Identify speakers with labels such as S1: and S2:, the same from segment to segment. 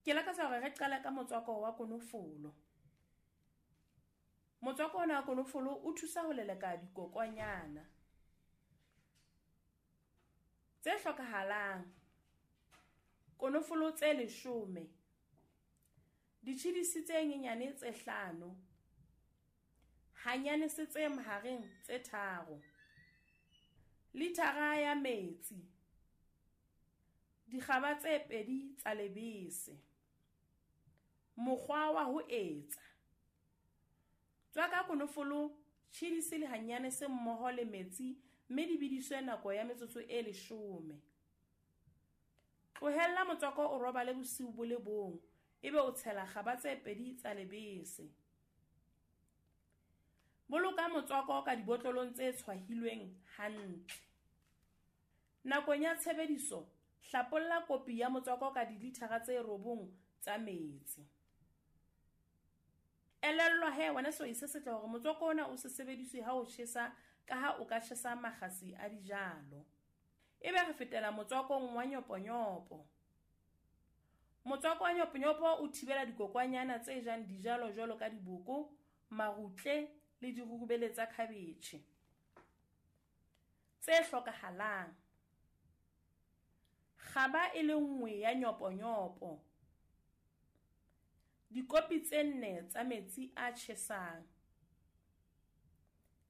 S1: Ke lakatsa hore re qale ka motswako wa konofolo. Motswako ona wa konofolo o thusa ho leleka dikokwanyana. Tse hlokahalang: konofolo tse 10, ditjhidisi tse nyenyane tse 5, hanyanese tse mahareng tse 3, lithara ya metsi, dikgaba tse 2 tsa lebese. Mokgwa wa ho etsa: Tswaka konofolo, tjhidisi le hanyanese mmoho le metsi mme di bediswe nako ya metsotso e 10. Tlohella motswako o robale bosiu bo le bong ebe o tshela kgaba tse 2 tsa lebese. Boloka motswako ka dibotlolong tse tshwahilweng hantle. Nakong ya tshebediso, hlapolla kopi ya motswako ka dilithara tse 9 tsa metsi. Elellwa he wena sehwai se setle hore motswako ona o se sebediswe ha o tjhesa ka ha o ka tjhesa makgasi a dijalo. Ebe re fetela motswakong wa nyoponyopo. Motswako wa nyoponyopo o thibela dikokwanyana tse jang dijalo jwalo ka diboko, marutle le dirurubele tsa khabetjhe. Tse hlokahalang: kgaba e le nngwe ya nyoponyopo, dikopi tse 4 tsa metsi a tjhesang,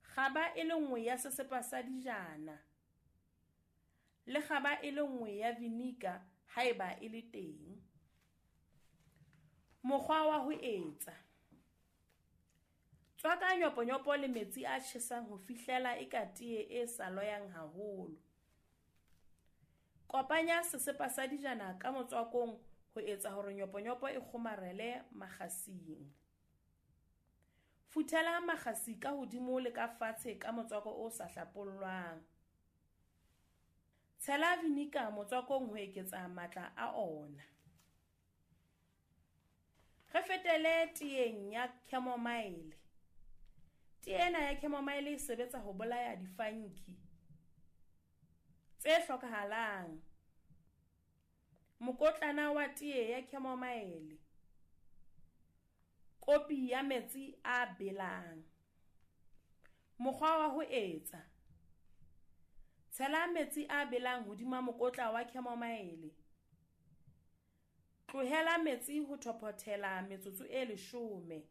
S1: kgaba e le nngwe ya sesepa sa dijana le kgaba e le nngwe ya vinika haeba e le teng. Mokgwa wa ho etsa: Tswaka nyoponyopo le metsi a tjhesang ho fihlela eka tee e sa loyang haholo. Kopanya sesepa sa dijana ka motswakong ho etsa hore nyoponyopo e kgomarele makgasing. Futhela makgasi ka hodimo le ka fatshe ka motswako o sa hlapollwang. Tshela vinika motswakong ho eketsa matla a ona. Re fetele teeng ya chamomile. Tee ena ya chamomile e sebetsa ho bolaya difanki. Tse hlokahalang: mokotlana wa tee ya chamomile, kopi ya metsi a belang. Mokgwa wa ho etsa: Tshela metsi a belang hodima mokotla wa chamomile. Tlohela metsi ho thophothela metsotso e 10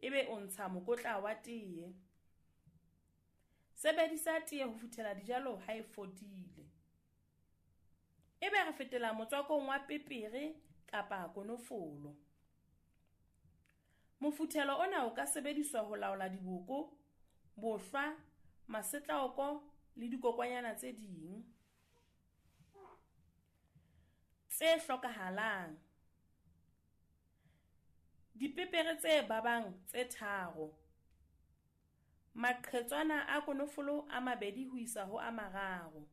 S1: ebe o ntsha mokotla wa tee. Sebedisa tee ho futhela dijalo ha e fodile. Ebe re fetela motswakong wa pepere kapa konofolo. Mofuthelo ona o ka sebediswa ho laola diboko, bohlwa, masetlaoko le dikokwanyana tse ding. Tse hlokahalang: dipepere tse babang tse 3, maqhetswana a konofolo a 2 ho isa ho a 3,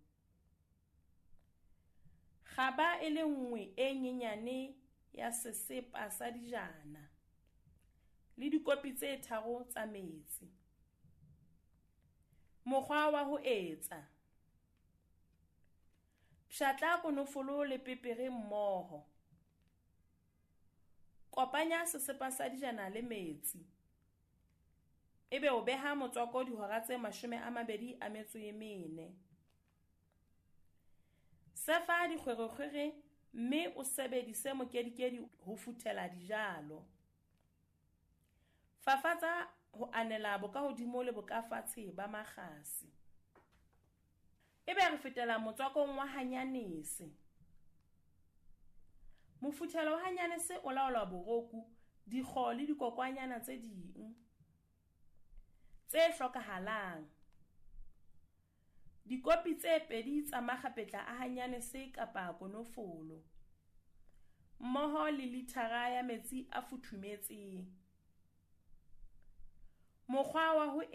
S1: kgaba e le nngwe e nyenyane ya sesepa sa dijana le dikopi tse 3 tsa metsi. Mokgwa wa ho etsa: Pshatla konofolo le pepere mmoho. Kopanya sesepa sa dijana le metsi. Ebe o beha motswako dihora tse 24. Sefa dikgwerekgwere mme o sebedise mokedikedi ho futhela dijalo. Fafatsa ho anela bokahodimo le bokafatshe ba makgasi. Ebe re fetela motswakong wa hanyanese. Mofuthelo wa hanyanese o laola boroku, dikgo le dikokwanyana tse ding. Tse hlokahalang: dikopi tse 2 tsa makgapetla a hanyanese kapa konofolo, mmoho le lithara ya metsi a futhumetseng. Mokgwa wa ho